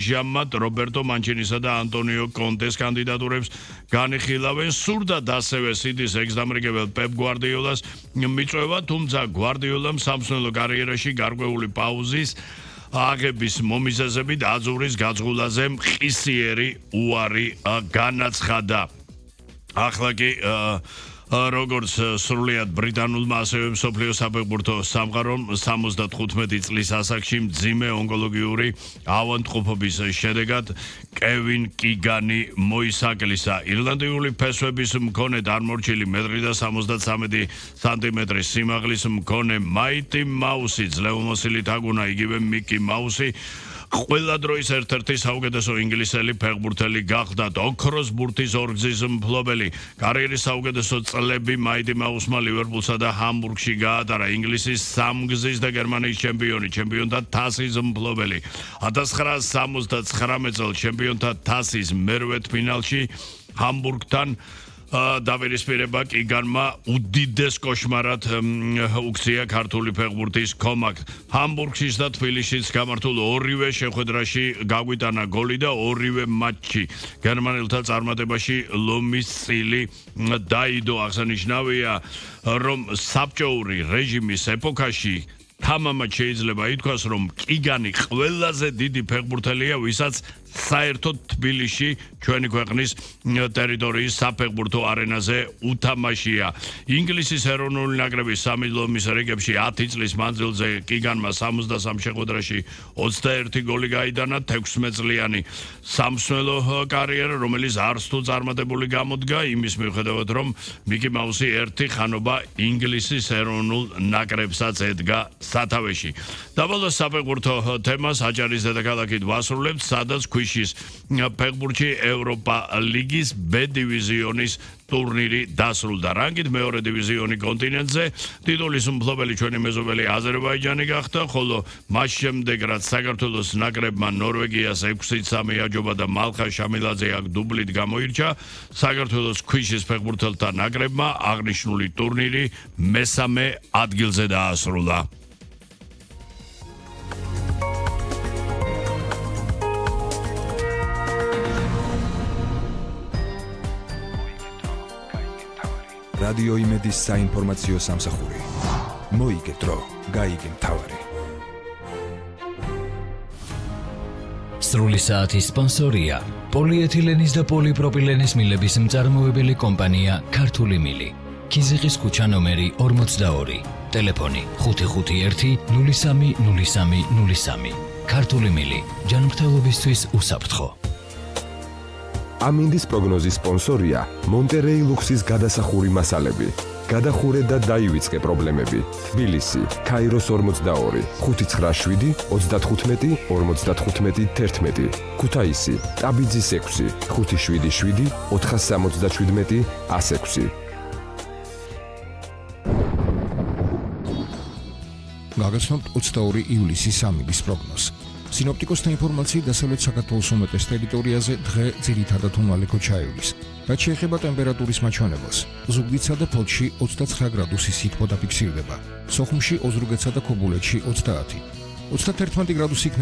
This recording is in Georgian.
ჟამად რობერტო მანჩინისა და ანტონიო კონტეს კანდიდატურებს განიხილავენ. სურდათ ასევე სიტის ეგზამრიგებელ პეპ გვარდიოლას მიწვევა, თუმცა გვარდიოლამ სამსვლელო კარიერაში გარკვეული პაუზის აღების მომიზეზებით აზურის გაძღულაზე მყისიერი უარი განაცხადა. ახლა კი როგორც სრულიად ბრიტანულმა ასევე მსოფლიო საფეხბურთო სამყარომ 75 წლის ასაკში მძიმე ონკოლოგიური ავადმყოფობის შედეგად კევინ კიგანი მოისაკლისა. ირლანდიური ფესვების მქონე წარმორჩილი 1.73 სანტიმეტრის სიმაღლის მქონე მაიტი მაუსი ძლევმოსილი თაგუნა იგივე მიკი მაუსი ყველა დროის ერთ-ერთი საუკეთესო ინგლისელი ფეხბურთელი გახდა. ოქროს ბურთის ორგზის მფლობელი კარიერის საუკეთესო წლები მაიტი მაუსმა ლივერპულსა და ჰამბურგში გაატარა. ინგლისის სამგზის და გერმანიის ჩემპიონთა თასის მფლობელი 1979 წელს ჩემპიონთა თასის მერვედფინალში ჰამბურგთან დავირისპირება კიგანმა უდიდეს კოშმარად უქცია ქართული ფეხბურთის კომაკ. ჰამბურგშიც და თბილისშიც გამართულ ორივე შეხვედრაში გაგვიტანა გოლი და ორივე მატჩი გერმანელთა წარმატებაში ლომის წილი დაიდო. აღსანიშნავია, რომ საბჭოური რეჟიმის ეპოქაში თამამად შეიძლება ითქვას, რომ კიგანი ყველაზე დიდი ფეხბურთელია, ვისაც საერთოდ თბილისში ჩვენი ქვეყნის ტერიტორიის საფეხბურთო არენაზე უთამაშია. ინგლისის ეროვნული ნაკრების სამილომის რიგებში 10 წლის მანძილზე კიგანმა 63 შეხვედრაში 21 გოლი გაიტანა. 16 წლიანი სამსვლელო კარიერა, რომელიც არც თუ წარმატებული გამოდგა, იმის მიუხედავად, რომ მიკი მაუსი ერთი ხანობა ინგლისის ეროვნულ ნაკრებსაც ედგა სათავეში. დაბალოს საფეხბურთო თემას აჭარის დედაქალაქით ვასრულებთ, სადაც ქვიშის ფეხბურთში ევროპა ლიგის B დივიზიონის ტურნირი დასრულდა. რანგით მეორე დივიზიონი კონტინენტზე ტიტულის მფლობელი ჩვენი მეზობელი აზერბაიჯანი გახდა, ხოლო მას შემდეგ რაც საქართველოს ნაკრებმა ნორვეგიას 6-3 აჯობა და მალხა შამილაძე აქ დუბლით გამოირჩა, საქართველოს ქვიშის ფეხბურთელთა ნაკრებმა აღნიშნული ტურნირი მესამე ადგილზე დაასრულა. რადიო იმედის საინფორმაციო სამსახური. მოიგდრო, გაიგე მთავარი. სრული საათის სპონსორია პოლიეთილენის და პოლიპროპილენის მილების მწარმოებელი კომპანია ქართული მილი. ქიზიყის ქუჩა ნომერი 42. ტელეფონი 551 03 03 03. ქართული მილი. ჯანმრთელობისთვის უსაფრთხო. ამინდის პროგნოზის სპონსორია მონტერეი ლუქსის გადასახური მასალები. გადახურე და დაივიწყე პრობლემები. თბილისი, ქაიროს 42, 597 35 55 11. ქუთაისი, ტაბიძის 6, 577 477 106. გაგაცნობთ 22 ივლისის ამინდის პროგნოზს. სინოპტიკოსთა ინფორმაციით დასავლეთ საქართველოს უმეტეს ტერიტორიაზე დღე ძირითადად უმალე ქოჩაივლის. რაც შეეხება ტემპერატურის მაჩვენებელს, ზუგდიდსა და ფოთში 29 გრადუსი სითბო დაფიქსირდება. სოხუმში, ოზურგეთსა და ქობულეთში 30. 31 გრადუსი იქნება